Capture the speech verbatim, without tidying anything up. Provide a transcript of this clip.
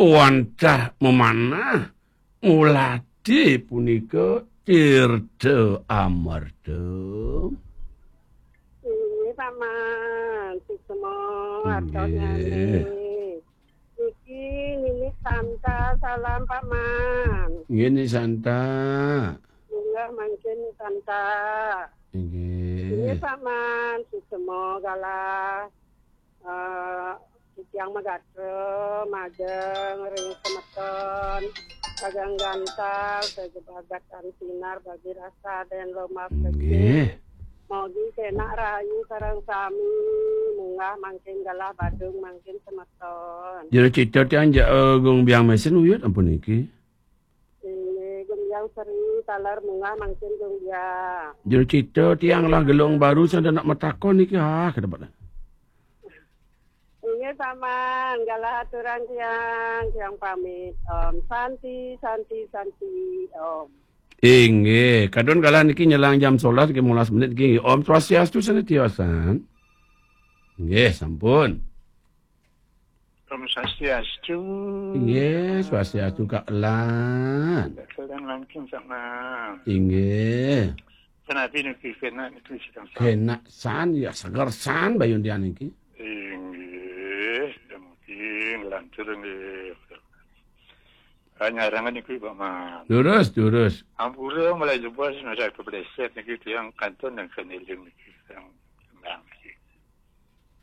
Wantah memanah, mulati punika tirta amarta. Inggih, Paman. Suksma. Inggih. Artosnyané. Niki Nini Santa, salam, Paman. Inggih, Nini Santa. Munggah mangkin, Santa. Inggih. Inggih, Paman. Suksma galah. Eh, titiang magatra majeng ring semeton, sagang gantal, sajabagat tan sinar bagi rasa den lomak. Inggih. Mogi kenak rahayu sareng sami, munggah mangkin galah Badung mangkin semeton. Jero cita tiang ja, eh, Gung Biang Mesin uyut ampun niki. Inggih, Gung Biang Sri, taler munggah mangkin Gung Biang. Jero cita tiang lah gelung baru sada nak matakon niki, ah, kedapat. Inggih, Paman, galah aturan tiang, tiang pamit. Om Santi, Santi, Santi, Om. Inggih, kadun galah niki nyelang jam sebelas niki, limolas menit niki. Om Swastiastu, Santi Tiosan. Inggih, sampun. Om Swastiastu. Inggih, Swastiastu, Kak Lan. Kak Lan langking sama. Inggih. Kenapi niki kenak niki sedang sa- Kenak san, ya seger san bayun tiang niki. Inggih, mungkin lantur nggih. Ah, nyarangan niki, Paman. Durus, durus. Ampura mulai jebos masa kepleset niki tiang kantun dan keniling niki. Tiang